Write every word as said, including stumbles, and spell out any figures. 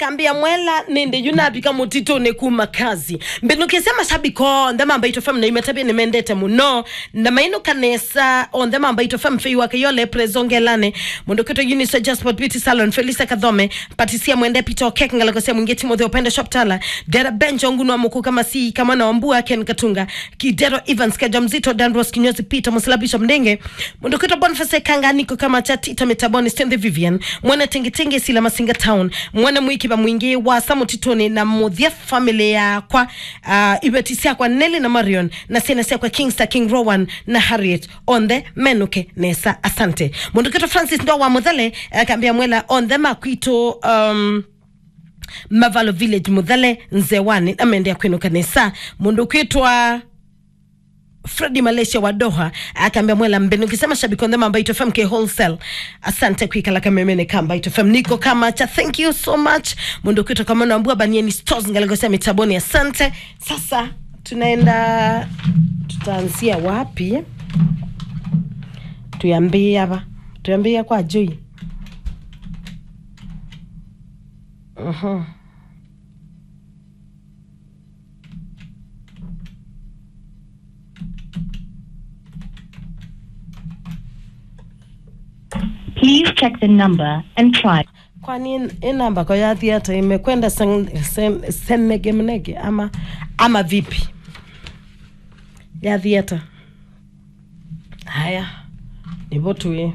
Ambĩa mwela nĩndĩ yu navika mũtitũnĩ kuma kazi. Mbĩnũkĩsya mashabiki onthe ma Mbaitũ F M na imatavye nĩmendete mũno. Na mainũka nesa onthe ma Mbaitũ F M, Fei wa Kayole, Prezo Ngelane, mũndũ kwĩtwa Eunice wa Jasper Beauty Salon, Felisa Kathome, Patricia Mwende, Peter Okek, ngalako sya mwingĩ, Timothy Openda, Shop Tala, Dera Benjo, Ngunu wa Mũkũka, Masi Kamwana wa Mbua, Ken Katunga, Kidero Evans, Kaja Mzito, Dandros Kinyozi, Peter Musila, Bishop Ndenge, mũndũ kwĩtwa Boniface Kanga, Niko Kama cha Tito Mitaboni, Stanley Vivian, Mwana Tingitingi, Sila Masinga Town, Mwana Mwiki va Mwingi wa Samutitoni na Muthia family yakwa, uh, iveti syakwa Nelly na Marion, na syana syakwa Kingsta, King Rowan na Harriet, onthe menũke nesa. Asante. Mũndũ kwĩtwa Francis Ndo wa Muthale, akambĩa mwela onthe makwitũ, um, Mavalo Village Muthale Nzewani, amendea kwĩnũka nesa. Mũndũ kwĩtwa Freddy Malaysia wa Doha, akambĩa mwela mbĩnũkĩsya mashabiki onthe ma Mbaitũ F M ke wholesale. Asante kwĩkala kamemene ka Mbaitũ F M. Niko Kama cha, thank you so much. Mũndũ kwĩtwa Kamwana Mbua, Banieni Stores, ngalako sya Mitaboni, asante. Sasa tunaenda, tutaanzia wapi? Tuyambĩĩa va? Tuyambĩĩa kwa Joy. Mhm. Please check the number and try. Kwani ĩ namba ko yathi ata? Imekwenda sen- sen- senegemnege ama, ama vipi? Yathi ata? Haya, nivo tuĩ.